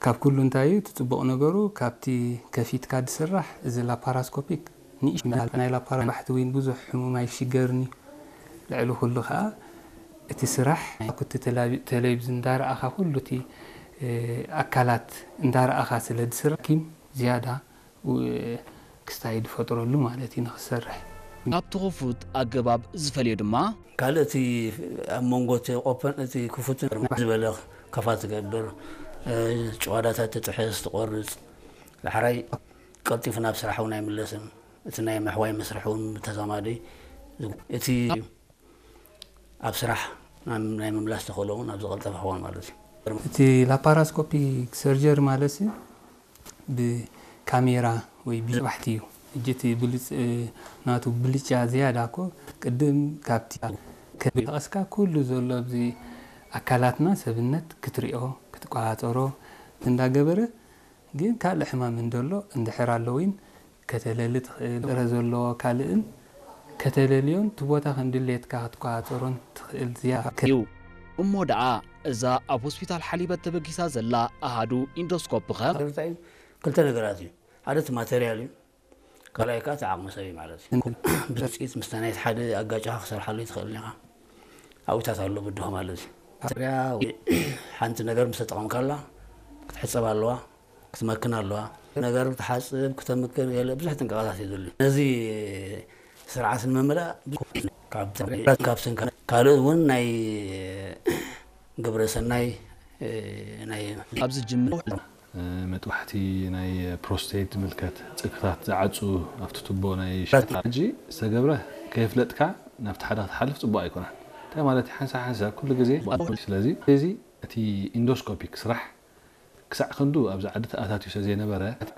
ካብ ኩሉ እንታይ እዩ እቲ ጽቡቕ ነገሩ? ካብቲ ከፊትካ ዝስራሕ እዚ ላፓራስኮፒክ ንእሽ ናይ ላፓራ ባሕቲ እውን ብዙሕ ሕሙም ኣይሽገርን እዩ። ልዕሊ ኩሉ ከዓ እቲ ስራሕ ኣብቲ ቴሌቪ- ቴሌቪዝን እንዳረኣኻ ኩሉ እቲ ኣካላት እንዳረኣኻ ስለ ዝስራሕ ኪም ዝያዳ ክስታይ ዝፈጥረሉ ማለት እዩ ንክሰርሕ። ካብቲ ክፉት ኣገባብ ዝፈልዮ ድማ ካልእ እቲ ኣብ መንጎ እቲ ኦፐን እቲ ክፉትን ዝበለ ከፋ ትገብር፣ ጭዋዳታት ትጥሕስ ትቆርፅ፣ ዳሕራይ ቀልጢፉ ናብ ስራሕ እውን ኣይምለስን። እቲ ናይ ምሕዋይ መስርሕ እውን ብተዛማዲ እቲ ኣብ ስራሕ ናይ ምምላስ ተኽእሎ እውን ኣብ ዝቐልጠፈ ክኾን ማለት እዩ። እቲ ላፓራስኮፒክ ሰርጀሪ ማለት ብካሜራ ወይ ብባሕቲ እዩ። እጅቲ ብልጭ ናቱ ብልጫ ዝያዳ እኮ ቅድም ካብቲ ከጠቀስካ ኩሉ ዘሎ ኣብዚ ኣካላትና ሰብነት ክትሪኦ ክትቆፃፀሮ እንዳገበረ ግን ካልእ ሕማም እንደሎ እንድሕር ኣለዊን ከተለሊ ትኽእል ረ ዘለዎ ካልእን ከተለልዮን እቲ ቦታ ከም ድሌትካ ክትቆፃፀሮን ትኽእል ዝያዳ እዩ። እሞ ደኣ እዛ ኣብ ሆስፒታል ሓሊበት ተበጊሳ ዘላ ኣሃዱ ኢንዶስኮፕ ኸ? ክልተ ነገራት እዩ። ሓደ እቲ ማተርያል እዩ። ካልኣይ ከዓ እቲ ዓቕሚ ሰብ እዩ ማለት እዩ። ብፅኢት ምስ ናይቲ ሓደ ኣጋጫኻ ክሰርሓሉ ይትኽእል ኢኻ። ኣብታት ኣሎ ብድሆ ማለት እዩ። ማተርያ ሓንቲ ነገር ምስ ተጠቐምካላ ክትሕፀብ ኣለዋ፣ ክትመክን ኣለዋ። ነገር ክትሓፅብ ክተምክን ገለ ብዙሕ ጥንቃቐታት እዩ ዘድልዩ። ነዚ ስርዓት ንምምላእ ካብ ካብ ስንካ ካልእ እውን ናይ ግብረ ሰናይ ናይ ኣብዚ ጅምር መጥባሕቲ ናይ ፕሮስቴት ዝምልከት ጸግታት ዝዓጹ ኣብቲ ቱቦ ናይ ሽታ ሕጂ ዝተገብረ ከየፍለጥካ ናብቲ ሓደ ክትሓልፍ ጽቡቕ ኣይኮነን። እንታይ ማለት ሓንሳ ሓንሳ ኩሉ ግዜ ስለዚ እዚ እቲ ኢንዶስኮፒክ ስራሕ ክሳዕ ክንዱ ኣብዚ ዓዲ ተኣታትዩ ስለ ዘይነበረ